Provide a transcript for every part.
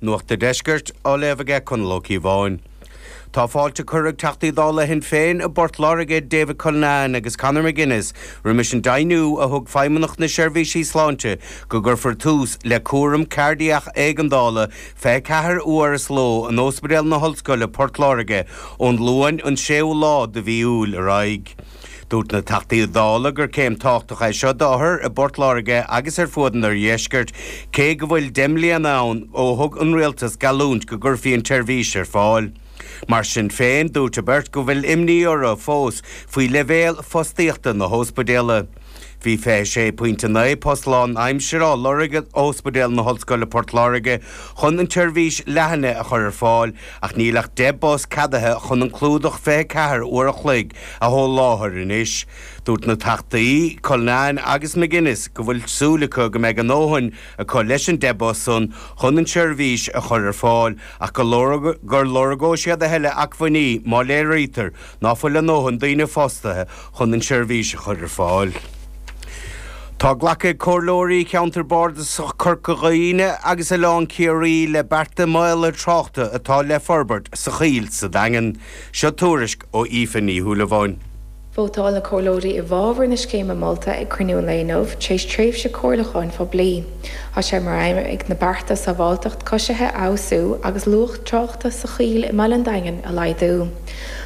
Nuacht a' Deiscirt á léamh aige Conall Ó Cíobháin. Tá fáilte curtha ag Teachtaí Dála Shinn Féin i bPort Láirge, David Cullinane agus Conor McGuinness, roimis an deimhniú a thug Feidhmeannacht na Seirbhísí Sláinte go gcuirfear tús le cúram cairdiach éigeandála 24 uair sa ló in Ospidéal na hOllscoile, Port Láirge, ón Luan an 6ú lá de mhí Iúil ar aghaidh. Dúirt na Teachtaí Dála gur céim tábhachtach é seo d'othair i bPort Láirge agus ar fuaid an oirdheiscirt, cé go bhfuil 10 mbliana ann ó thug an Rialtas geallúint go gcuirfí an tseirbhís ar fáil. Mar sin féin, dúirt an bheirt go bhfuil imní orthu fós faoi leibhéal fostaíochta na hóspidéala. Bhí 26.9 post lánaimsire á lorg ag Ospidéal na hOllscoile Port Láirge chun an tseirbhís leathnaithe a chur ar fáil ach níl ach 10 bpost ceadaithe chun an clúdach 24 uair a chloig a sholáthar anois. Dúirt na Teachtaí Cullinane agus McGuinness go bhfuil súil acu go mbeidh a ndóthain acu leis an 10 bpost san chun an tseirbhís a chur ar fáil ach gur lorgóidh siad a thuilleadh acmhainní má léirítear ná fuil a ndóthain daoine fostaithe chun an tseirbhís a chur ar fáil. Tá glactha ag Comhairleoirí Cheantar Bardasach Corca Dhuibhne agus Oileán Ciarraí le bearta maolaithe tráchta atá le forbairt sa Choill sa Daingean. Seo tuairisc ó Aoife Ní Shúilleabháin. Vótáil na Comhairleoirí i bhfabhar na scéime molta ag cruinniú an lae inniu, tar éis tréimhse comhairliúcháin phoiblí. Tá sé mar aidhm ag na bearta sábháilteacht coisithe a fheabhsú agus luach tráchta sa choill i mbaile an Daingin a laghdú.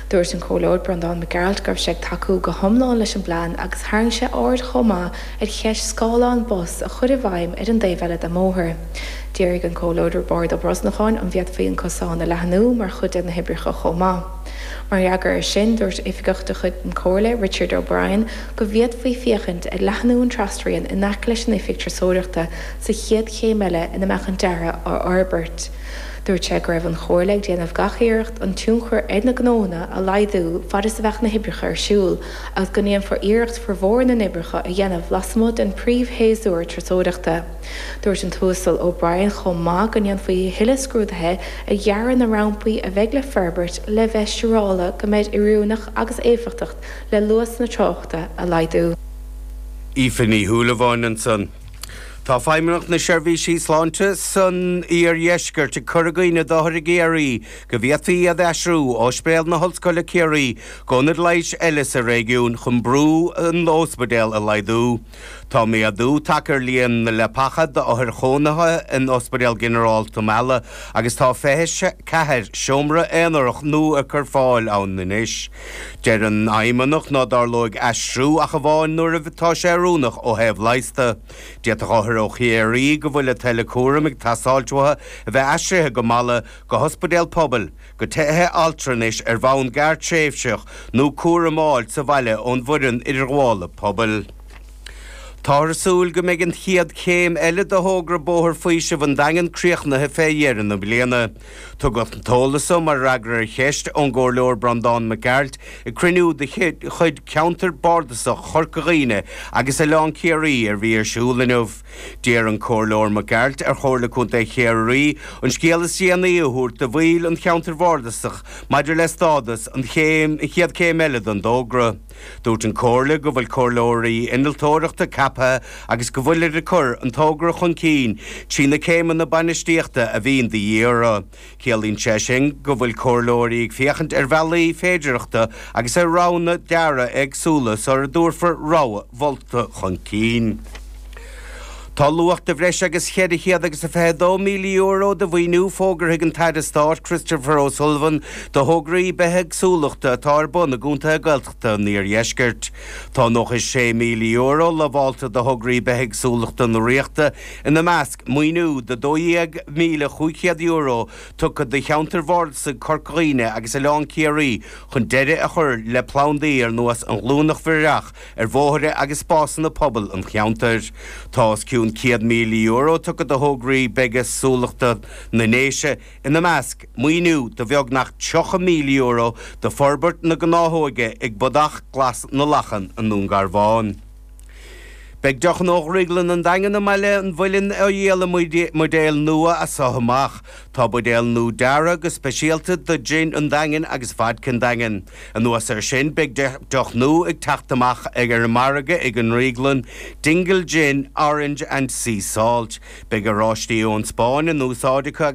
Dúirt an Comhairleoir Breandán Mac Gearailt go raibh sé ag tacú go hiomlán leis an bplean agus tharraing sé aird chomh maith ar cheist scáileán bus a chur i bhfeidhm ar an dtaobh eile den mbóthar. D'fhiafraigh an Comhairleoir Roibeárd Ó Brosnacháin an bhféadfaí an cosán a leathnú mar chuid de na hoibreacha chomh maith. Mar fhreagra air sin, dúirt oifigeach de chuid na Comhairle, Richard O'Brien, go bhféadfaí féachaint ar leathnú an trasrian in aice leis an oifig turasóireachta sa chéad chéim eile ina mbeadh an dearadh á fhorbairt. Dúirt sé go raibh an Chomhairle ag déanamh gach iarracht an tionchar ar na gnónna a laghdú fad is a bheadh na hoibreacha ar siúl agus go ndéanfar iarracht formhór na n-oibreacha a dhéanamh lasmuigh den príomhshéasúr turasóireachta. Dúirt an tUasal O'Brien chomh maith go ndéanfaí a thuilleadh scrúdaithe ar dhearadh na rampaí a bheidh le forbairt le bheith siúrála go mbeid oiriúnach agus éifeachtach le luasanna tráchta a laghdú. Aoife Ní Shúilleabháin ansan. Tá Feidhmeannacht na Seirbhísí Sláinte san Iardheisceart ag cur i gcuimhne d'othair i gCiarraí go bhféadfaí iad a aistriú ó Ospidéal na hOllscoile Ciarraí go ionad leighis eile sa réigiún chun brú an óspidéal a laghdú. Tá méadú tagtha ar líon na leapacha d'othair chónaithe in Ospidéal Ginearálta Mhala agus tá 24 seomra aonarach nua ar fáil ann anois. Deir an Fheidhmeannacht ná dtarlóidh aistriú ach amháin nuair atá sé oiriúnach ó thaobh leighis de. D'fhéadfadh othair ó Chiarraí go bhfuil a tuilleadh cúraim ag teastáilt uathu a bheith aistrithe go Mala, go hospidéal pobail, go tithe altranais ar bhonn gearrtréimhseach nó cúram a fháil sa bhaile ón bhfoireann idirghabhála pobail. Táthar ag súil go mbeidh an chéad chéim eile de thogra Bóthar Faoisimh an Daingin críochnaithe fé dheireadh na bliana. Tugadh an t-eolas so mar fhreagra ar cheist ón gComhairleoir Breandán Mac Gearailt ag cruinniú de chuid Cheantar Bardasach Chorca Dhuibhne agus Oileán Ciarraí ar bhí ar siúl inniu. D'iarr an Comhairleoir Mac Gearailt ar Chomhairle Contae Chiarraí an scéal is déanaí a thabhairt do bhaill an cheantair bhardasach maidir le stádas an chéim an chéad chéim eile den dtógra. Dúirt an Chomhairle go bhfuil comhairleoirí innealtóireachta ceaptha agus go bhfuilid ag cur an togra chun cinn trí na céimeanna bainistíochta a bhíonn de dhíth orthu. Ciallaíonn sé sin go bhfuil comhairleoirí ag féachaint ar bhealaí féidearthachta agus ar roghanna dearaidh éagsúla sara dtabharfar rogha mholta chun cinn. Tá luach de bhreis agus €422,000 de mhaoiniú fógartha ag an tAire Stáit Christopher O'Sullivan do thograí bithéagsúlachta atá ar bun i gcontaetha Gaeltachta an iardheiscirt. Tá €96,000 lamhálta do thograí bithéagsúlachta na Ríochta, ina measc maoiniú de €12,500 tugtha do cheantair bhardasaigh Chorca Dhuibhne agus Oileán Ciarraí chun deireadh a chur le plandaí ar nós an ghlúineach bhireach ar bhóithre agus spásanna pobail an cheantair. Tá os cionn €100,000 tugtha do thograí bithéagsúlachta na nDéise, ina measc, maoiniú de bheagnach €30,000 do forbairt na gnáthóige ag Bodach Glas na Lachan i nDún Garbhán. Beidh deochanna ó Dhrioglann an Daingin i mBaile an Mhuilinn á dhíol i mbuidéil nua as so amach. Tá buidéil nua deartha go speisialta do Jin an Daingin agus Vodka an Daingin. Anuas air sin, beidh deoch nua ag teacht amach ar an margadh ag an ndrioglann, Dingle Gin, Orange and Sea Salt. Beidh oráistí ón Spáinn in úsáid acu.